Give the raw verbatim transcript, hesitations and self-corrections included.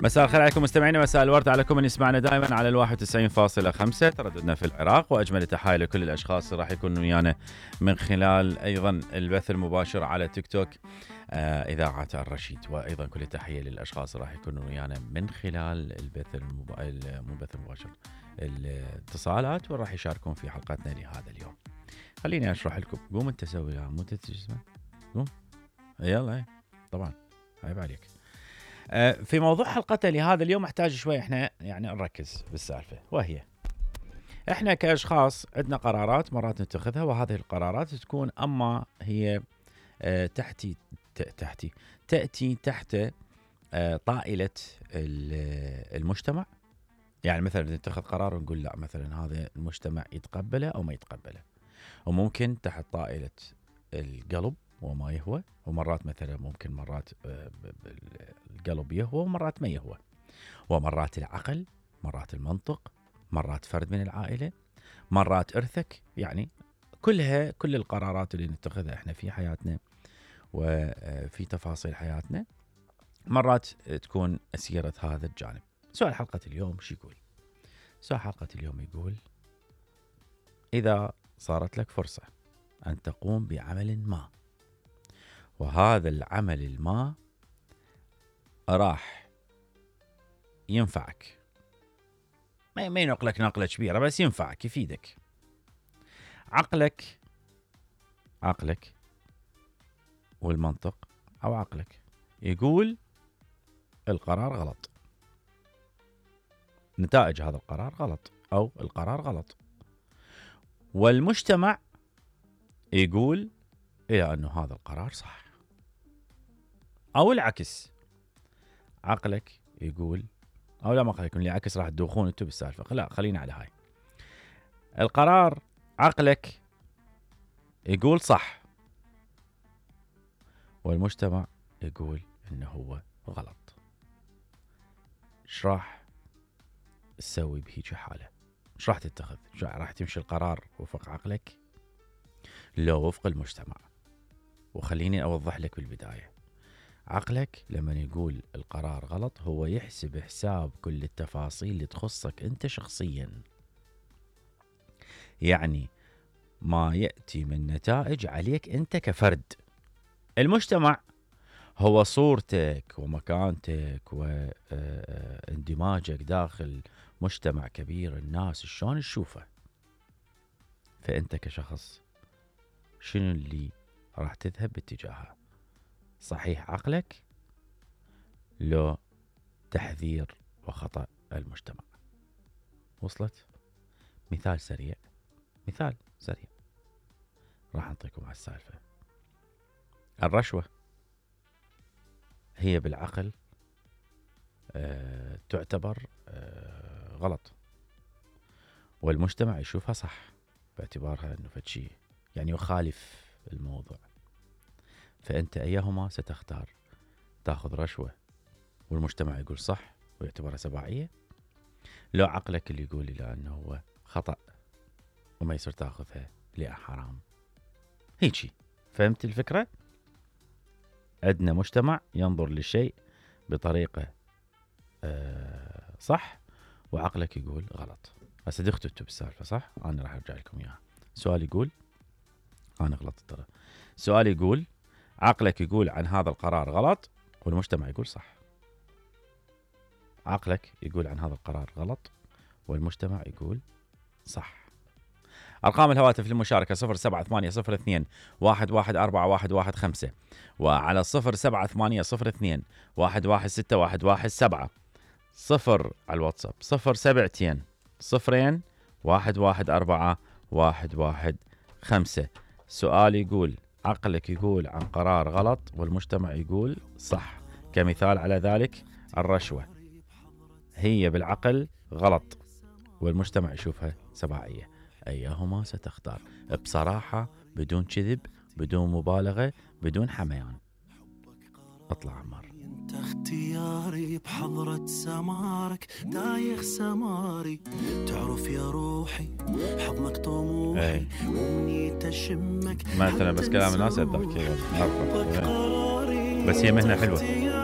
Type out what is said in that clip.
مساء الخير عليكم مستمعينا، مساء الورد عليكم من يسمعنا دائما على الواحد وتسعين فاصلة خمسة ترددنا في العراق، واجمل التحايا لكل الاشخاص اللي راح يكونوا ويانا من خلال ايضا البث المباشر على تيك توك آه اذاعه الرشيد، وايضا كل التحيه للاشخاص اللي راح يكونوا ويانا من خلال البث الموبايل مو البث المباشر الاتصالات، وراح يشاركون في حلقتنا لهذا اليوم. خليني اشرح لكم. قوم انت سوي لها مو تسمع، قوم يلا. طبعا عيب عليك. في موضوع حلقتنا لهذا اليوم احتاج شوي احنا يعني نركز بالسالفه، وهي احنا كاشخاص عندنا قرارات مرات نتخذها، وهذه القرارات تكون اما هي اه تحتي تحتي تاتي تحت اه طائله المجتمع. يعني مثلا نتخذ قرار ونقول لا مثلا هذا المجتمع يتقبله او ما يتقبله، وممكن تحت طائله القلب وما يهوى، ومرات مثلا ممكن مرات القلب يهوى ومرات ما يهوى، ومرات العقل، مرات المنطق، مرات فرد من العائلة، مرات إرثك. يعني كلها كل القرارات اللي نتخذها احنا في حياتنا وفي تفاصيل حياتنا مرات تكون أسيرة هذا الجانب. سؤال حلقة اليوم شو يقول؟ سؤال حلقة اليوم يقول: إذا صارت لك فرصة أن تقوم بعمل ما، وهذا العمل الما راح ينفعك، ما ينقلك نقلة كبيرة بس ينفعك يفيدك، عقلك عقلك والمنطق أو عقلك يقول القرار غلط، نتائج هذا القرار غلط أو القرار غلط، والمجتمع يقول إلى أنه هذا القرار صح، أو العكس، عقلك يقول أو لا ما خليكم اللي عكس راح تدوخون انتو بالسالفة. لا خلينا على هاي القرار، عقلك يقول صح والمجتمع يقول إنه هو غلط. ايش راح تسوي بهيج حالة؟ ايش راح تتخذ؟ راح تمشي القرار وفق عقلك لو وفق المجتمع؟ وخليني أوضح لك بالبداية، عقلك لما يقول القرار غلط هو يحسب حساب كل التفاصيل اللي تخصك أنت شخصيا، يعني ما يأتي من نتائج عليك أنت كفرد. المجتمع هو صورتك ومكانتك واندماجك داخل مجتمع كبير، الناس شلون تشوفه، فأنت كشخص شنو اللي راح تذهب باتجاهه؟ صحيح عقلك لو تحذير وخطأ المجتمع؟ وصلت؟ مثال سريع مثال سريع راح أعطيكم على السالفة. الرشوة هي بالعقل أه تعتبر أه غلط، والمجتمع يشوفها صح باعتبارها أنه فشي يعني يخالف الموضوع. فأنت أيهما ستختار؟ تأخذ رشوة والمجتمع يقول صح ويعتبرها سباعية، لو عقلك اللي يقول لا أنه هو خطأ وما يصير تأخذها لأ حرام؟ هيجي فهمت الفكرة؟ عندنا مجتمع ينظر للشيء بطريقة آه صح، وعقلك يقول غلط. هسه دختوا انتوا بالسالفة صح؟ أنا راح أرجع لكم إياها. سؤال يقول، أنا غلطت ترى، سؤال يقول عقلك يقول عن هذا القرار غلط والمجتمع يقول صح. عقلك يقول عن هذا القرار غلط والمجتمع يقول صح. أرقام الهواتف للمشاركة صفر سبعة ثمانية صفر اثنين واحد واحد أربعة واحد واحد خمسة، وعلى صفر سبعة ثمانية صفر اثنين واحد واحد ستة واحد واحد سبعة، صفر على الواتساب صفر سبعتين صفرين واحد واحد أربعة واحد واحد خمسة. سؤال يقول عقلك يقول عن قرار غلط والمجتمع يقول صح. كمثال على ذلك الرشوة هي بالعقل غلط والمجتمع يشوفها سباعية، أيهما ستختار؟ بصراحة بدون كذب بدون مبالغة بدون حميان. اطلع عمار. انت اختياري بحضرة سمارك دايخ سماري، تعرف يا روحي حضنك طموحي ومني تشمك مثلا، بس كلام الناس اتذكر بس هي مهنة حلوة.